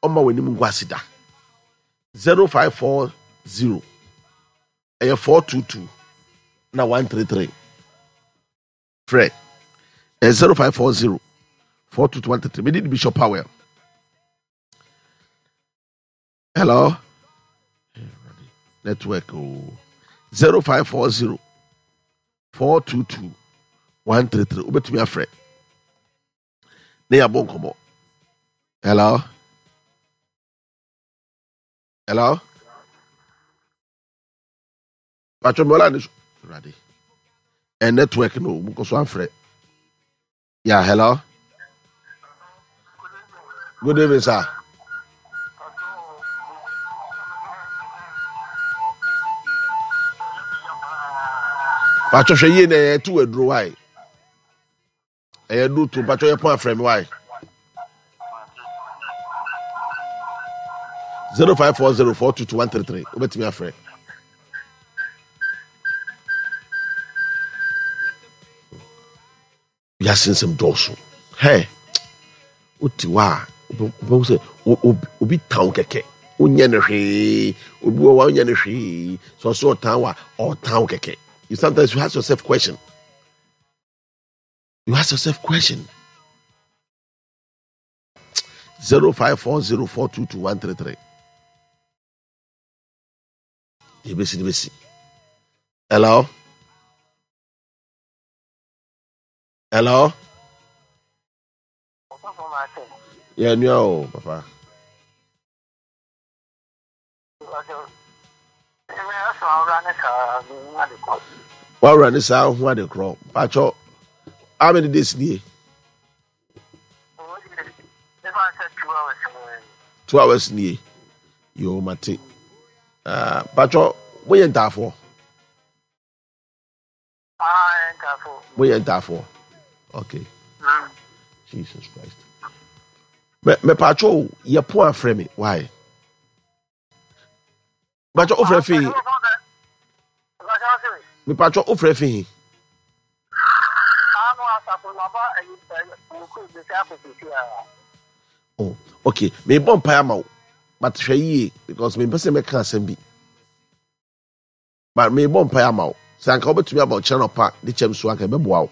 Ɔmma w'anim ngu ase da. 0540 ɛyɛ 422 na 133. Frɛ ɛyɛ 0540 422 133. Mede di Bishop Powell. Hello? Network o. 0540 422 133. Wobɛtumi afrɛ. Ne yɛabɔ nkɔmmɔ. Hello? Hello? Patro mɔla ne so. Awurade. Ɛ network no mu kɔ so afrɛ. Yeah, hello? Good evening, sir. Patro hwɛ yie na ɛyɛ tu aduro wae. Ɛyɛ do to mpatwɔ yɛ pɔn afrɛ me why? 0540422133 wobɛtumi afrɛ. Wiase nsɛm dɔɔso. Hɛ wote hɔ a wobɛhu sɛ obi tan kɛkɛ wonyɛ no hwee obi wɔ hɔ a wonyɛ no hwee sɛ ɔsɛ ɔtan wa ɔtan kɛkɛ. You sometimes you ask yourself question. You ask yourself question. 0540422133. Yɛbɛsi ne bɛsi. Hello? Hello? Yeah, nua o, papa. Wawura ne saa ho ade korɔ. Mpakyɛ, how many days nie? 2 hours nie. Yo, mate. Ah, mpakyɛ, moyɛ ntaafoɔ? Moyɛ ntaafoɔ? Okay. Jesus Christ. Mepatwo o, yɛ po afrɛ me. Why? Mepatwo ofrɛ fi. Mepatwo ofrɛ fi. Oh, okay. Mebɔ mpae ama wo. But hwɛ yie because mempɛ sɛ mɛka asɛm bi. But mebɔ mpae ama wo. Sɛ anka wobɛtumi aba ɔkyerɛ nɔpa de kyɛm so anka ɛbɛboa wo.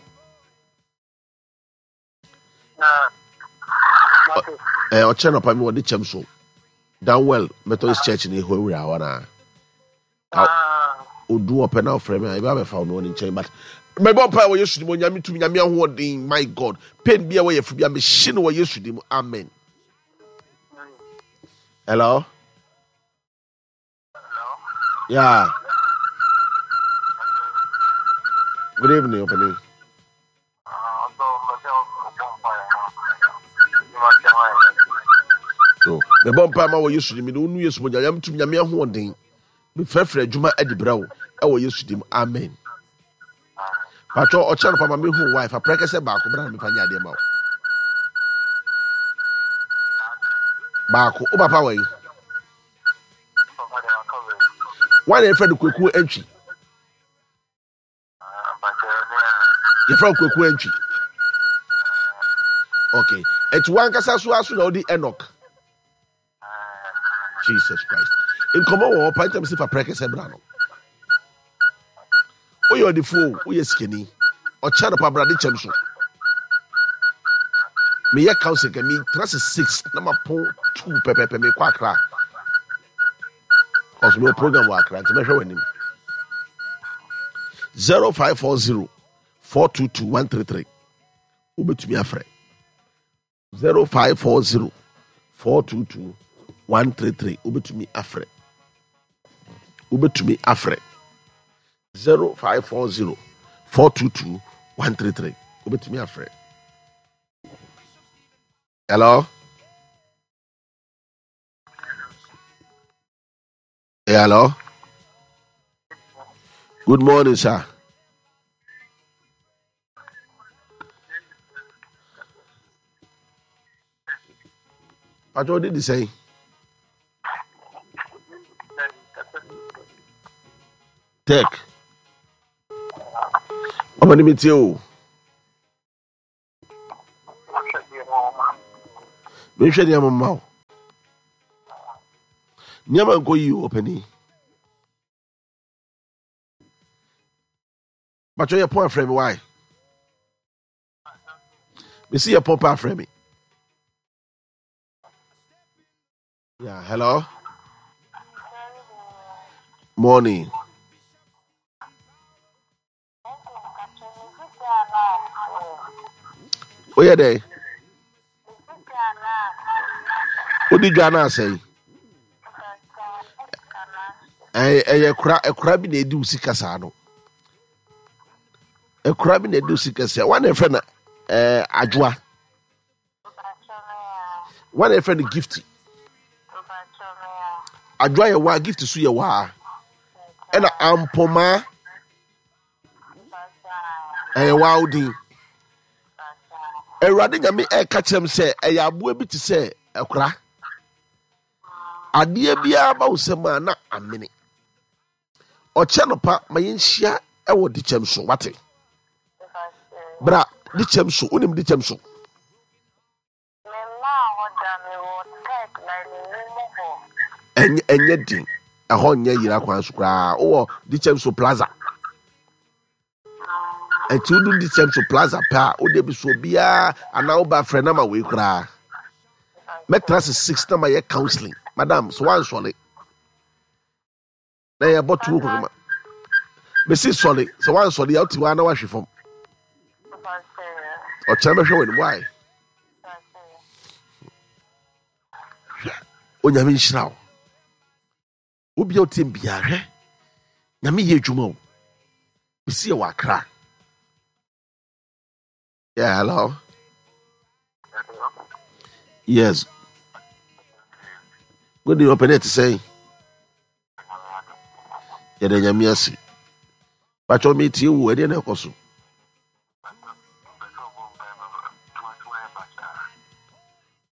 Eh, ɔkyerɛ nɔpa mi wɔde kyɛm so Danwell Methodist Church ne ɛhɔ awura hɔ naa odu ɔpɛ na ɔfrɛ me a ɛbɛ abɛfa wo me wɔ ne nkyɛn but mɛbɔ mpa wɔ Yesu di mu onyame tumi nyame ahoɔden my God pain bi a wɔyɛ fo bi a mehye no wɔ Yesu di mu amen. Hello. Yeah. Good evening, Opening. So, mebɔ mpa ma wɔ Yesu dim, mede wo nu Yesu mogya, nyame tumi, nyame ahoɔden. Mefrɛfrɛ adwuma adi brɛ wo ɛwɔ Yesu dim. Amen. Patro ɔkyerɛ no pama mehu wife aprɛkɛ sɛ baako bra na mefa nyɛ adeɛ ma wo. Baako, wo papa wɔ yi. Wọn na yɛfrɛ no Kwaku Antwi. Yɛfrɛ no Kwaku Antwi. Okay. Ɛti wankasa so aso na ɔdi Enoch. Jesus Christ. Nkɔmɔ wɔ hɔ pa ntam si fa prɛkɛ sɛ bra no. Woyɛ ɔdefoɔ o, woyɛ sikani. Ɔkyɛ no pa bra de kyɛm so. Meyɛ council kɛ me tena se 6 na mapɔn 2 pɛpɛpɛ mekɔ Accra. Cause mewɔ program wɔ Accra nti mɛhwɛ w'anim. 0540 422 133 wobɛtumi afrɛ. 0540 422 133 wobɛtumi afrɛ wobɛtumi afrɛ 0540 422 133 wobɛtumi afrɛ. Hello. Hello. Good morning, sir. Patrol did the same. Tech. Ọmọ ni mi tie o. Mehwɛ nneɛma mma wo. Nneɛma nkɔ yie o ɔpanin. Bàtchɔ yɛ pɔn afrɛ mi why? Mesi yɛ pɔn pa afrɛ mi. Yeah, hello. Morning. Woyɛ dɛn? Wodi dwa no asɛe. Ɛyɛ kora ɛkora bi na edi wo sika saa no. Ɛkora bi na edi wo sika saa. Wɔn na ɛfrɛ no ɛɛ adwoa. Wɔn na yɛfrɛ no gift. Adwoa yɛ waa, gift so yɛ waa. Ɛna ampomaa ɛyɛ waa odin. Awurade Nyame ɛka kyerɛ m sɛ ɛyɛ aboa bi te sɛ ɛkora. Adeɛ biara ba wo sɛm a na amene. Ɔkyɛ nɔpa ma yɛnhyia ɛwɔ dikyɛm so wate. Bra dikyɛm so, wonim dikyɛm so? Ɛnyɛ ɛnyɛ den ɛhɔ nyɛ yira kwan so koraa wowɔ dikyɛm so plaza. Ɛnti wodu dikyɛm so plaza pɛ a wode bi so obiara anaa woba frɛ nama wei koraa. Mɛtena se six na mayɛ counseling madam so wansɔre. Na yɛbɔ tuo kɔkɔma mesi sɔre sɛ wansɔre a wote hɔ a na wahwe fam ɔkyerɛ mɛhwɛ w'anim wae hwɛ onyame nhyira wo wobia wotie biaa hwɛ nyame yɛ adwuma o mesi yɛ wɔ akra. Yeah, hello. Yes. Good day, open it say. Yɛda nyame ase. Patwɔ me tie wo ɛdeɛ na ɛkɔ so.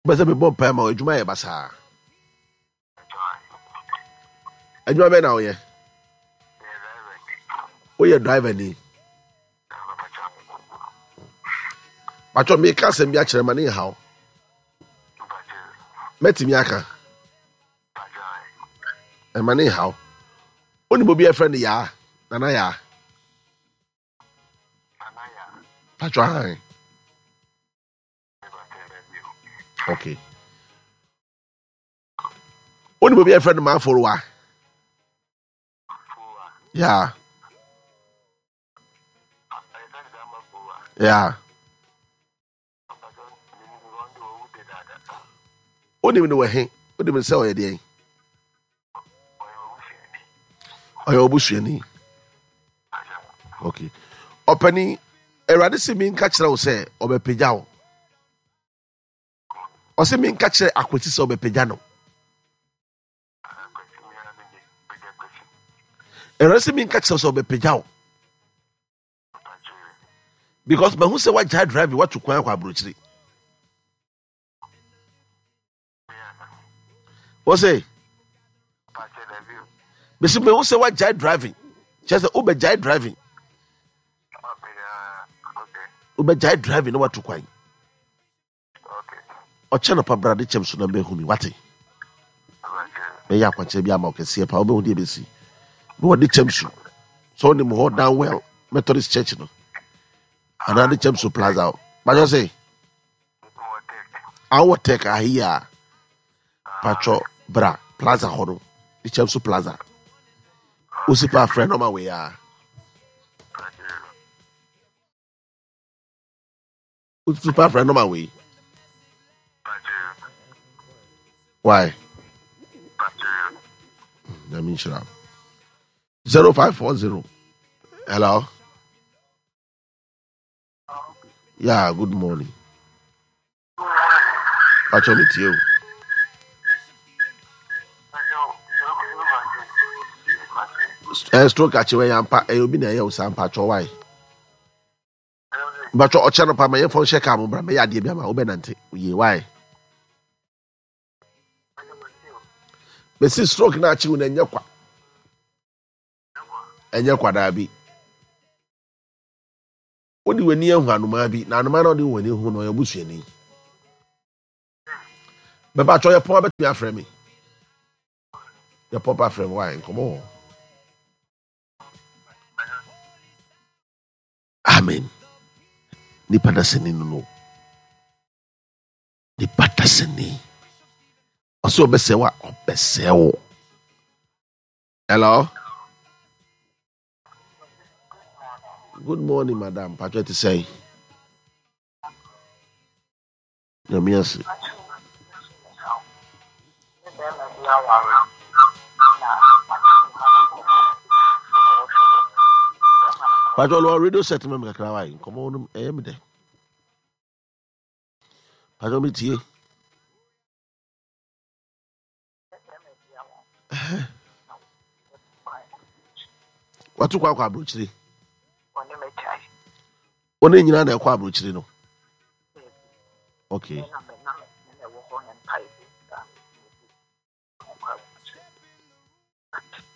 Wopɛ sɛ mebɔ mpae ma adwuma yɛ basaa. Adwuma bɛn na woyɛ? Woyɛ driver ni. Patwɔ meka asɛm bi akyerɛ ma ne nhaw. Mɛtumi aka. Ɛma ne nhaw. Wonim obi a ɛfrɛ no Yaa, Nana Yaa. Patwɔ ahan. Okay. Wonim obi a yɛfrɛ no Maaforowa? Yeah. Yeah. Wonim no wɔ he? Wonim sɛ ɔyɛ deɛn? Ɔyɛ ɔbusuani. Okay. Ɔpani, Awurade se menka kyerɛ wo sɛ ɔbɛpagya wo. Ɔse menka kyerɛ Akwasi sɛ ɔbɛpagya no. Awurade se menka kyerɛ sɛ ɔbɛpagya wo. Because mahu sɛ wagyae driving watu kwan akɔ aburokyiri. Wọ́n sɛ mesi mehu sɛ wagyae driving kyerɛ sɛ wobɛgyae driving wobɛgyae driving na watu kwan. Ɔkyɛ nɔpa bra de kyɛm so na bɛhu mi wate. Mɛyɛ akwankyerɛ bi ama wo kɛseɛ paa wobɛhu deɛ bɛsi. Na wɔde kyɛm so sɛ wonim hɔ down well Methodist Church no anaa de kyɛm so plaza hɔ. Bàtɔ sɛ awɔ tech ahi a patwɔ bra plaza hɔ no de kyɛm so plaza. Wosi pa frɛ nɔma wei a. Wotu pa frɛ nɔma wei. Why? Nyame nhyira. 0540. Hello. Yeah, good morning. Pacho me tie o. Eh, stroke akyewe yampa, eh, obi na ɛyɛ wo saa mpacho why? Mpacho ɔkyɛ no pa ma yɛmfa nhyɛ kaa mo bra mɛyɛ adeɛ bi ama wobɛnante yie why? Mesi stroke no akyew no ɛnyɛ kwa. Ɛnyɛ kwa daa bi. Wode w'ani ahu anomaa bi na anomaa na wode w'ani hu no ɔyɛ busuani. Bɛba atwa yɛ pɔn abɛtumi afrɛ me. Yɛ pɔpa frɛ me wae nkɔmmɔ wɔ hɔ. Amen. Nipa dasani no no. Nipa dasani. Ɔsɛ ɔbɛsɛ wa ɔbɛsɛ wo. Hello. Good morning, madam. Patro te sɛn? Nyame ase. Patro no radio set ma me kakra wa nkɔmmɔ no ɛyɛ me dɛ. Patro me tie. Watu kɔ akɔ aburokyire. Wɔn nyinaa na ɛkɔ aburokyire no. Okay.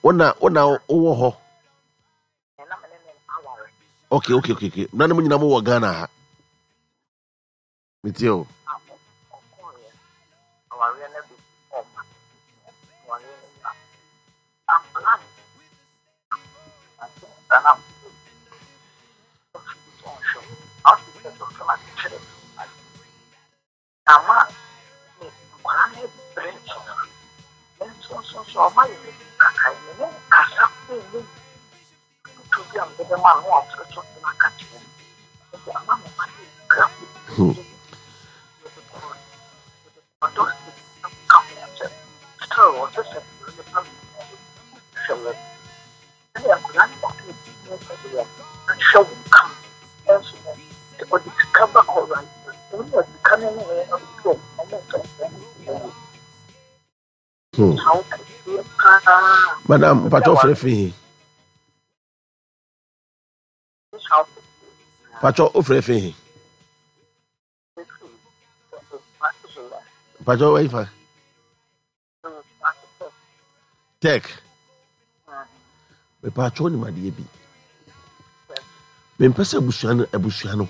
Wona wona wowɔ hɔ. Okay okay okay okay. Na ne mo nyinaa mo wɔ Ghana ha. Metie o. Ama me nkwadaa no brɛ nso no, me nso nso nso ɔma yɛ me kakra me ne no kasa kɔ mu afotuo bi a mede bɛma no na wafrɛ so no aka kyerɛ me nti ama me ma no brɛ kɔ ɔdɔ ka ho sɛ still ɔsɛ sɛ nipa hwɛ wɔ Sɛdeɛ akwadaa no kɔtɔɔ biribi no sɛdeɛ ahwɛ wo kama nso no, sɛ ɔde sika ba alright, wɔn a sika no ne wɔn abusu a wɔn nsa wɔn yie. Haw kɛseɛ paa. Madam, mpatwɔ frɛ fi he? Mpatwɔ ofrɛ fi he? Mpatwɔ wɔyi fa? Tech. Mepatwɔ nim adeɛ bi. Mempɛ sɛ abusua no abusua no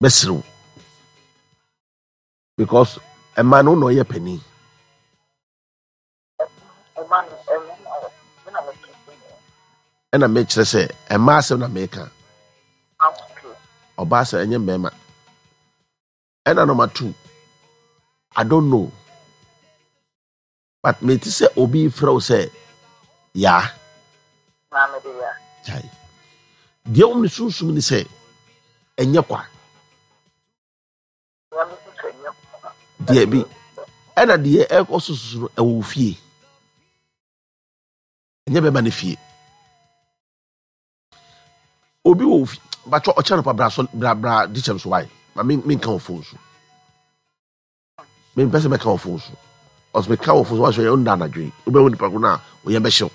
bɛserew because ɛma no na ɔyɛ panin. Ɛna mekyerɛ sɛ ɛma asɛm na meka. Ɔbaa sɛ ɛnyɛ mmarima. Ɛna number 2, I don't know, but mete sɛ obi frɛ wo sɛ yaa. Gyae. Deɛ wɔn ne sunsum ne sɛ ɛnyɛ kwa. Deɛ bi ɛna deɛ ɛkɔ so soso no ɛwɔ wo fie. Ɛnyɛ bɛma ne fie. Obi wɔ ofi batwɔ ɔkyɛ no pa bra so bra bra di kyɛm so wae ma me me nka wɔ phone so me mpɛ sɛ mɛka wɔ phone so ɔsɛ meka wɔ phone so wahyɛ yɛ ɔnda anadwo yi wobɛhu nipa ko no a ɔyɛ bɛhyew.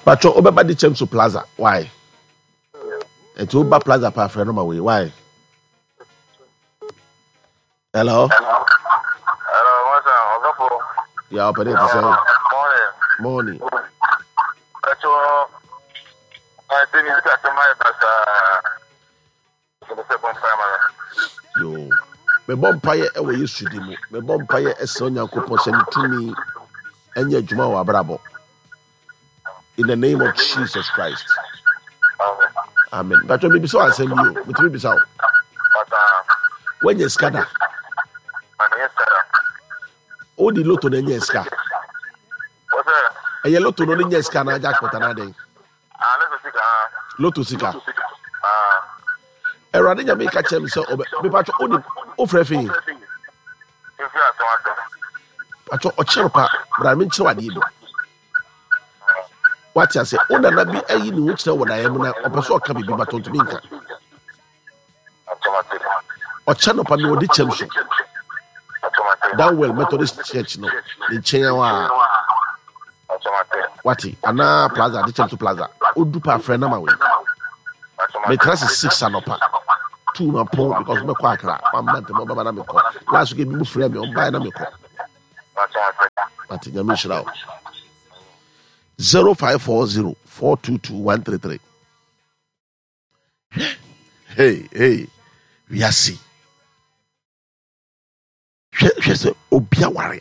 Patro wobɛba de kyɛm so plaza why nti woba plaza pa afrɛ no ma wei why hello hello what's up ɔsɔfo ya ɔpɛ ne te sɛ morning morning patro ase mi sika sɛm ayɛ basaa Yoo. Mebɔ mpaeɛ wɔ Yesu din mu. Mebɔ mpaeɛ ɛsrɛ Onyankopɔn sɛ ne tumi ɛnyɛ adwuma wɔ abrabɔ. In the name of Jesus Christ. Amen. Bàtɔ mi bisa asɛm bi o. Metumi bisa o. Wanya sika da. O di loto na ɛnyɛ sika. Ɛyɛ loto no ne nyɛ sika na jackpot anaa dɛn? Ah, loto sika. Ah. Loto sika. Ah. Awurade nyame ka kyerɛ me sɛ ɔbɛ mepatwɔ wonim wofrɛ fi patwɔ ɔkyerɛ pa bra menkyerɛ w adeɛ bi wate ase wo nana bi ayi ne ho kyerɛ wɔ daeɛ mu na ɔpɛ sɛ ɔka biribi but ɔntumi nka Ɔkyɛ nɔpa mi ɔde kyɛm so. Downwell Methodist Church no ne nkyɛn hɔ a. Wate anaa plaza de kyɛm so plaza. Odu pa afrɛ nama wei. Metra se 6 anɔpa. 2 ma pɔn because mɛkɔ Accra. Wamma ntɛm ɔbɛba na mekɔ. Last week ebi mu frɛ me ɔmbaeɛ na mekɔ. Wate nyame nhyira wo. 0540 422 133. Hey, hey, wiase. Hwɛ hwɛ sɛ obi aware.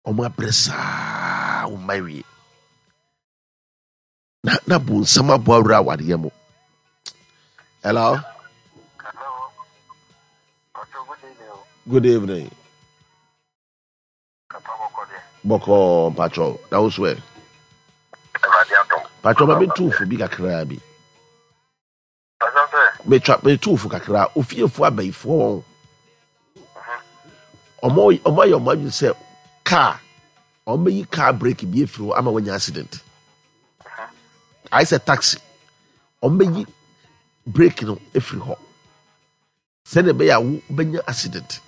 Wɔn abrɛ saa wɔn mma wie. Na na bonsam abɔ awura awareɛ mu. Hello. Hello. Good evening. Bɔkɔɔ mpatsɔ na wo so ɛ. Mpatsɔ ma mi tu fo bi kakraa bi. Metwa metu fo kakra ofiefo abayifoɔ wɔn. Ɔmo ɔmo ayɛ ɔmo adwene sɛ kaa ɔmo bɛyi kaa brake bi efiri hɔ ama wɔanya accident. Ayɛ sɛ taxi ɔmo bɛyi brake no efiri hɔ. Sɛdeɛ ɛbɛyɛ a wobɛnya accident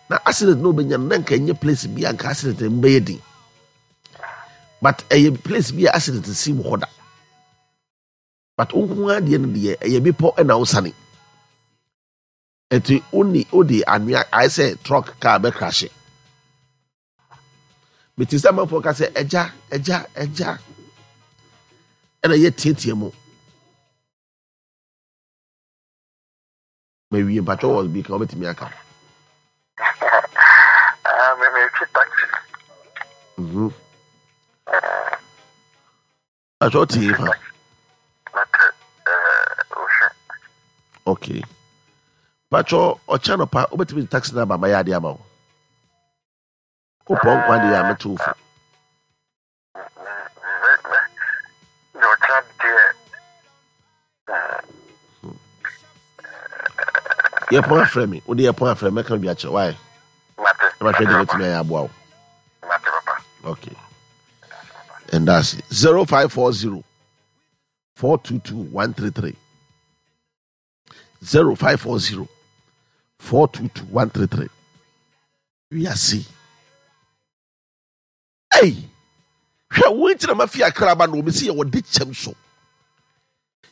na accident na wobɛnya no na nka ɛnyɛ place bi a nka accident no bɛyɛ din but ɛyɛ place bi a accident si wɔ hɔ da but wo nko ara deɛ no deɛ ɛyɛ bepɔ ɛna wosane ɛti woni wode anwea ayɛ sɛ truck car bɛkrahye mete sɛ amanfoɔ ka sɛ ɛgya ɛgya ɛgya ɛna yɛ tiatia mu. Mawie mpakyɛw wɔ bi ka wobɛtumi aka. Ah, me me twi taxi. Mhm. Mpakyɛw te fa. Mete eh ohwe. Okay. Mpakyɛw ɔkyɛ anɔpa wobɛtumi de taxi no aba ma yɛ adeɛ ama wo. Wopɔ nkwa deɛ a mɛto wo fo. Yɛpɔn afrɛ me wode yɛpɔn afrɛ mɛka bi akyerɛ wae na mahwɛ deɛ mɛtumi ayɛ aboa wo. Okay, and that's it. 0540 422 133 0540 422 133. Wiase. Ei! Hwɛ, wo nti na mafi Accra aba no, mesi yɛwɔ de kyɛm so.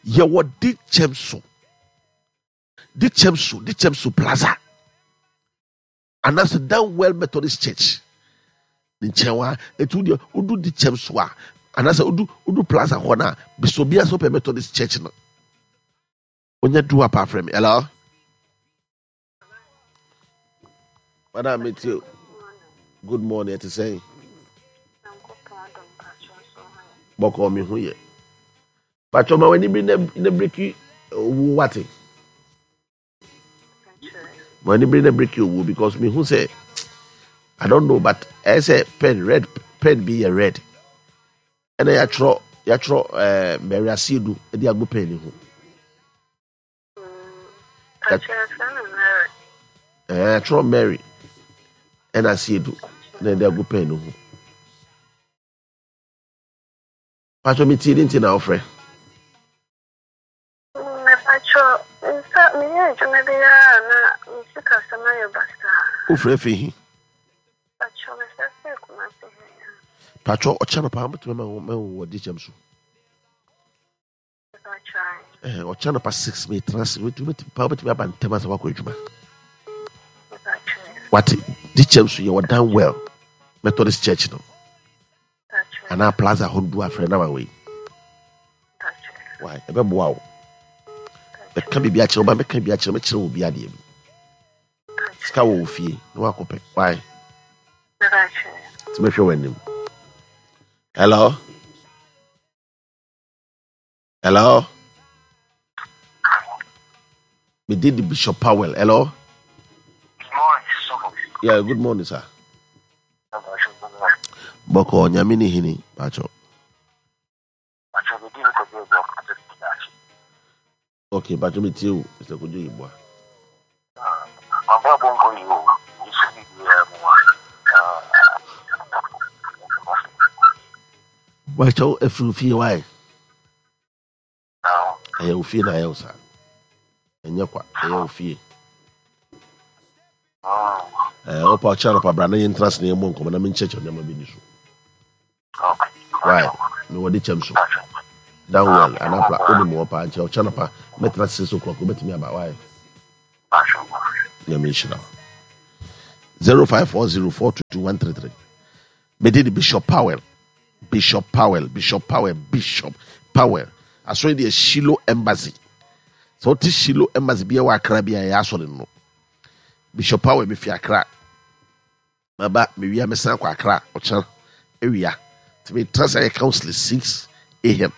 Yɛwɔ de kyɛm so. De kyɛm so, de kyɛm so plaza. Anaasɛ Danwell Methodist Church. Ne nkyɛn wa, etu deɛ wodu de kyɛm so a, anaasɛ wodu wodu plaza hɔ na bisɛ obi asɛ wopɛ Methodist Church no. Onye du apa afrɛ me. Hello? Madam metie good morning ɛte sɛn bɔkɔɔ me ho yɛ patwɔ ma w'ani bi na biriki owuo wate ma w'ani bi na biriki owuo because me hu sɛ I don't know but ɛyɛ sɛ pen red pen bi yɛ red ɛna yɛatwerɛ yɛatwerɛ ɛɛ Mary Asiedu ɛde agu pen ne ho. Ɛɛ twerɛ Mary ɛna Asiedu na ɛde agu pɛn no ho. Patro mi tie ne nti na ɔfrɛ. Mepatro nsa meyɛ adwuma biara na me sikasɛm ayɛ basaa. Wofrɛ fi he? Patro mefrɛ fi Kumasi he. Patro ɔkyɛ no paa mɛtumi ma wo wɔ de kyɛm so. Ɔkyɛ anɔpa 6 metena ase pa wobɛtumi aba ntɛm asɛ woakɔ adwuma wate de kyɛm so yɛwɔ Danwell Methodist Church no anaa plaza hɔ du afrɛ na wawei why ɛbɛboa wo mɛka biribi akyerɛ wo ba mɛka biribi akyerɛ mɛkyerɛ wo bi adeɛ bi sika wɔ wo fie na wakɔpɛ why nti mɛhwɛ w'anim. Hello. Hello? Me did the Bishop Powell. Hello? Good morning, sir. Yeah, good morning, sir. Boko nyame ne hini, pacho. Okay, pacho me tie wo, Mr. Kojo Yeboah. Wakyɛw afiri fie wae. Ɛyɛ wo fie na ayɛ wo saa. Ɛnyɛ kwa, ɛyɛ wo fie. Ɛɛ ɔpa ɔkyɛ anɔpa bra na yɛntena ase na yɛmmɔ nkɔmmɔ na menkyerɛkyerɛ nneɛma bi ni so. Why? Mewɔ de kyɛm so. Down well, anapla, wonim wɔ paa nkyerɛ ɔkyɛ anɔpa mɛtena ase 6 o'clock wobɛtumi aba why? Nyame nhyira wo. 0540422133 mede de Bishop Powell. Bishop Powell, Bishop Powell, Bishop Powell. Asɔre deɛ Shiloh Embassy. Sɛ wote Shiloh Embassy bi wɔ Accra bi a ɛyɛ asɔre no. Bishop Powell mefi Accra. Maba mewia mesan akɔ Accra ɔkyena awia. Nti metra sɛ yɛ counseling 6 am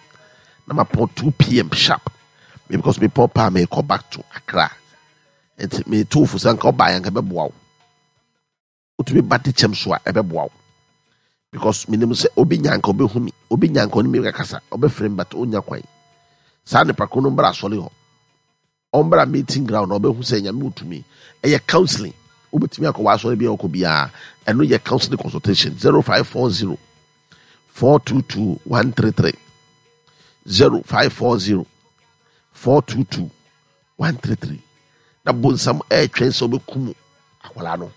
na mapɔn 2 pm sharp. Me because mepɔn paa mekɔ back to Accra. Nti meto fo sɛ nka ɔbaa yɛ nka bɛboa wo. Wotumi ba de kyɛm so a ɛbɛboa wo because menim sɛ obi nya nka ɔbɛhu mi, obi nya nka ɔne mi bɛkasa, ɔbɛfrɛ mi but ɔnya kwan. Saa nipa ko no mbra asɔre hɔ, ɔmbra meeting ground na ɔbɛhu sɛ Nyame wɔ tumi. Ɛyɛ counseling, wobɛtumi akɔ w'asɔre bi a ɔkɔ biara, ɛno yɛ counseling consultation 0540 422 133 0540 422 133 Na bonsam ɛretwɛn sɛ ɔbɛkum akwadaa no.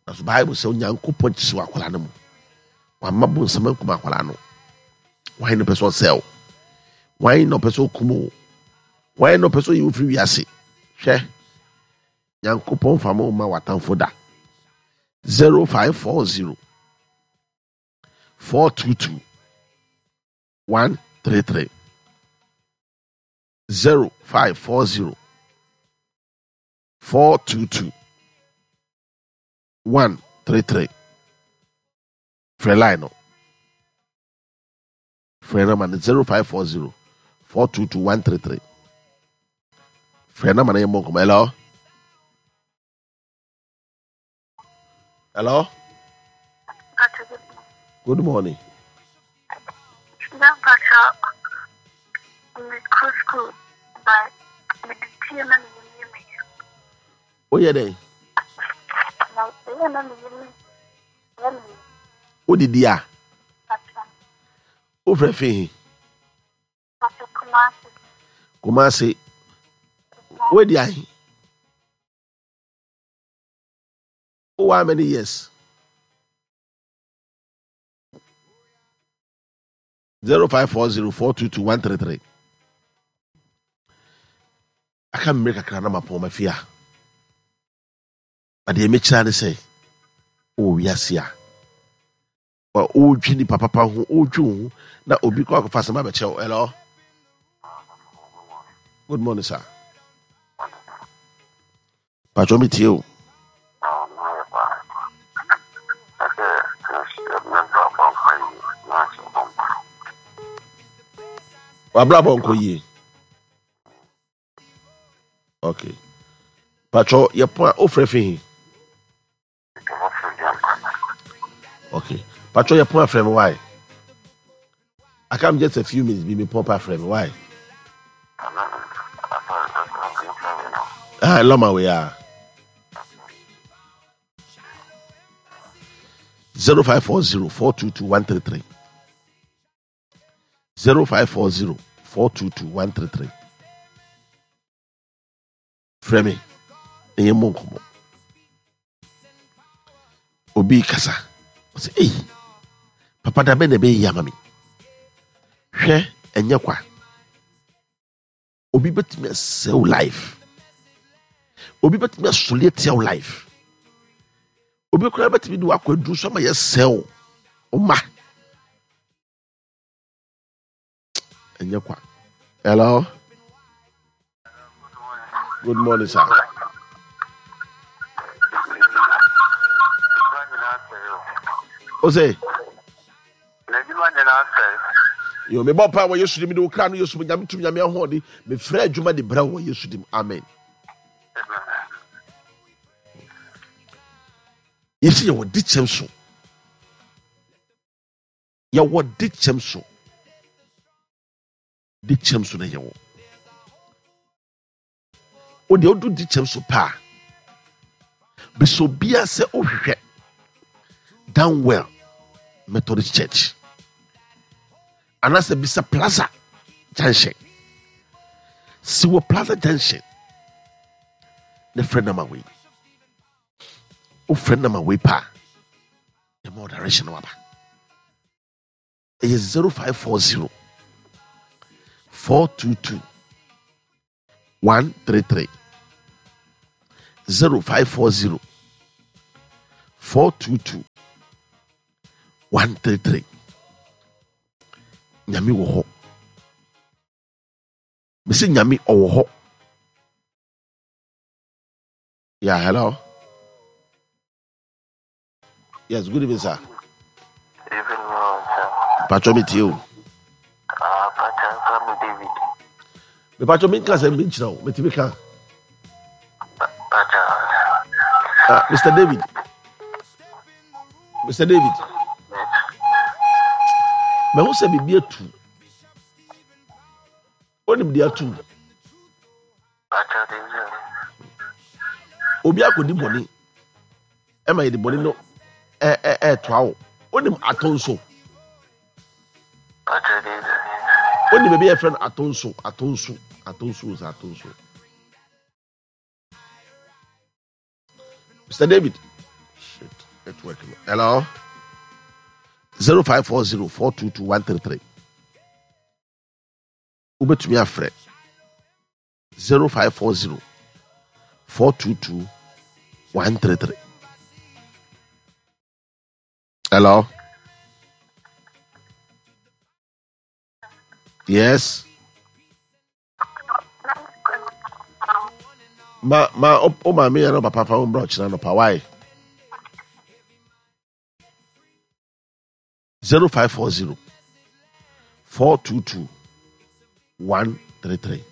Nanso Bible sɛ Onyankopɔn kyekye akwadaa no mu. Wamma bonsam ankum akwadaa no. Wan na ɔpɛ sɛ ɔsɛe wo? Wan na ɔpɛ sɛ ɔkum wo? Wan na ɔpɛ sɛ ɔyi wo firi wiase? Hwɛ, Nyankopɔn fa mo ma w'atamfo da. 0540 422 133 0540 422 133. Frɛ line no. Frɛ no ma no 0540 422 133. Frɛ no ma no yɛ mmɔ nkɔmmɔ. Hello? Hello? Good morning. Woyɛ dɛn? Wodidi a? Wofrɛ fi he? Kumasi. Wodi ahe? Wowɔ how many years? 0540 422 133. Aka mmerɛ kakra na mapɔn mafie a. Adeɛ mekyerɛ ne sɛ wɔ wiase a wodwi nipa papa ho wodwi wo ho na obi kɔ akɔfa asɛm abɛkyerɛ wo. Hello, good morning sir. Patro mi tie o. Wabrabɔ nkɔ yie. Okay, patro yɛ pɔn a ofrɛ fi he. Okay, patro yɛ pɔn afrɛ mi why? Aka mi just a few minutes bi mi pɔn pa afrɛ mi why? Ah, lɔma wei a. 0540 422 133. 0540 422 133. Frɛ me na yɛmmɔ nkɔmmɔ. Obi kasa, ɔsɛ ei, papa da bɛn na ɛbɛyɛ ama me? Hwɛ, ɛnyɛ kwa. Obi bɛtumi asɛe wo life. Obi bɛtumi asɔre atia wo life. Obi koraa bɛtumi de wakɔ aduru so ama yɛsɛe wo wo ma. Ɛnyɛ kwa. Hello, good morning sir. O sɛ yo mebɔ pa wɔ Yesu dim de wo kra no Yesu mu. Nyame tum, Nyame ahoɔden, mefrɛ adwuma de brɛ wɔ Yesu dim. Amen. Yɛsi yɛwɔ de kyɛm so, yɛwɔ de kyɛm so, de kyɛm so na yɛwɔ. Wo deɛ wodu de kyɛm so paa, bisɛ obiara sɛ wohwehwɛ Downwell Methodist Church anaasɛ bisa Plaza Junction. Si wɔ Plaza Junction na frɛ nama wei. Wofrɛ nama wei paa, ɛma direction waba. Ɛyɛ 0540 422 133. 0540 422 133. Nyame wɔ hɔ. Mese Nyame ɔwɔ hɔ. Yeah, hello. Yes, good evening, sir. Evening, sir. Pacho me tie o. Ah, Pacho nfa me David. Me pacho me nka sɛ me nkyerɛ o, me timi ka. Pacho. Ah, Mr. David. Mr. David. Mahu sɛ biribi atu. Onim deɛ atu. Obi akɔdi bɔne ɛma yɛde bɔne no ɛɛtoa wo. Onim ato nso. Onim baabi a yɛfrɛ no ato nso, ato nso, ato nso, ato nso. Mr. David. Shit, network. Hello. 0540 422 133. Wobɛtumi afrɛ 0540 422 133. Hello. Yes. Ma ma o maame yɛ no papa fa wo mbra ɔkyena no pa why? 0540 422 133.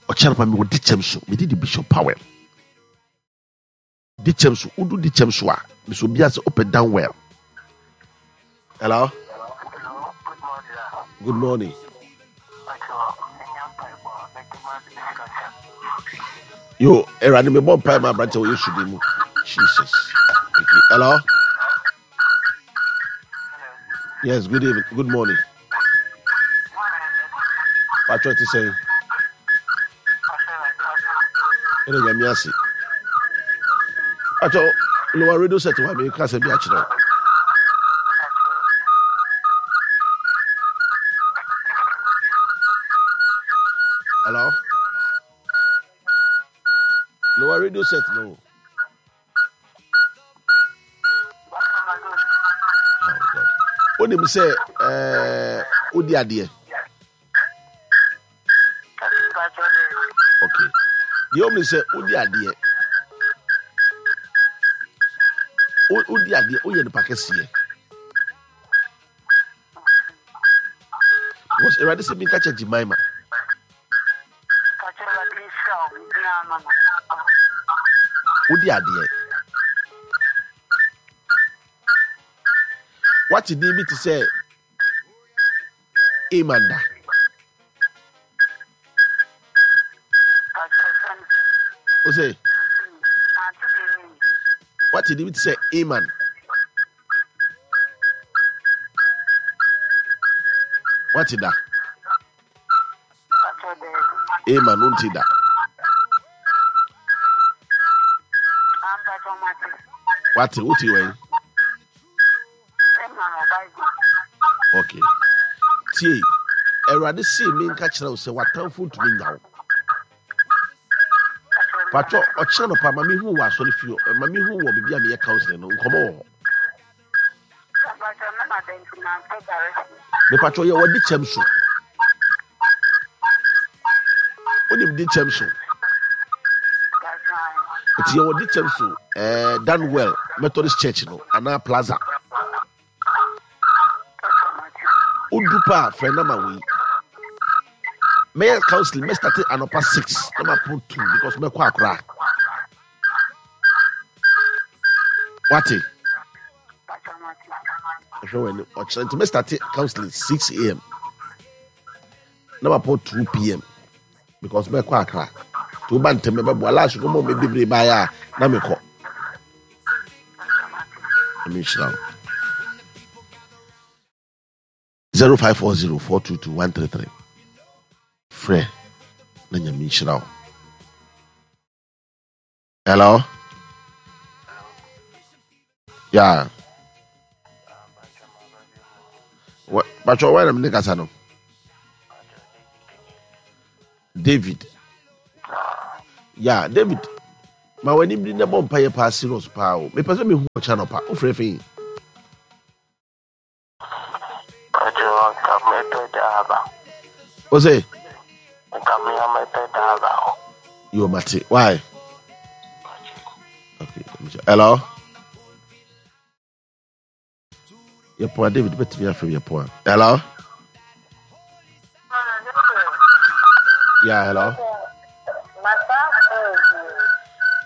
Ɔkyena pa mi wɔ di kyɛm so mede di Bishop Powell. Di kyɛm so wodu di kyɛm so a mesɛ obi ase wopɛ down well. Hello. Good morning. Yo, Awurade mebɔ mpae ma aberante wɔ Yesu din mu. Jesus. Hello. Yes, good evening. Good morning. Patrick te sɛn? Ɛna nyame ase. Patrick, lower radio set wa me kasa bi akyerɛ wo. Hello? Lower radio set no. Oh God. Wonim sɛ eh, wodi adeɛ. Okay. Deɛ ɔmu sɛ wodi adeɛ. Wodi adeɛ, woyɛ nipa kɛseɛ. Because Awurade sɛ minka kyɛ Jemima. Wodi adeɛ. Wate din bi te sɛ Amanda. O sɛ wate din bi te sɛ Aman. Wate da. Ema no nti da. Wate wote wɛn? Okay. Tie, Awurade see me nka kyerɛ wo sɛ w'atamfo ntumi nya wo. Patwɔ ɔkyerɛ no pa ma mehu wɔ asɔre fie ma mehu wɔ baabi a meyɛ counseling no nkɔmmɔ wɔ hɔ. Mepatwɔ yɛ wɔde kyɛm so. Wonim de kyɛm so. Nti yɛ wɔde kyɛm so ɛɛ eh, Danwell Methodist Church no anaa Plaza. Wodu pa a frɛ nama wei. Mɛyɛ counseling mɛstate anɔpa 6 na mapon 2 because mɛkɔ akora. Wate? Ɛhwɛ wɔ anim ɔkyerɛ nti mɛstate counseling 6 am na mapɔn 2 pm because mɛkɔ akra nti woba ntɛm mɛbɛboa last no mɔ me bebree baeɛ a na mekɔ. Ɛmi nhyira wo. 0540 422 133 frɛ na nyame nhyira wo. Hello? Yeah. But why am I no? David. Yeah, David. Ma w'ani biri na bɔ mpa yɛ paa serious paa o. Mepɛ sɛ mehu ɔkyɛ anɔpa. Wofrɛ fi. Nka mepɛ driver. O se? Nka me a mepɛ driver. Yo, mate. Why? Okay. Hello? Yɛpoa David bɛtumi afrɛ yɛpoa. Hello? Yeah, hello?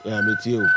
Yeah, me too.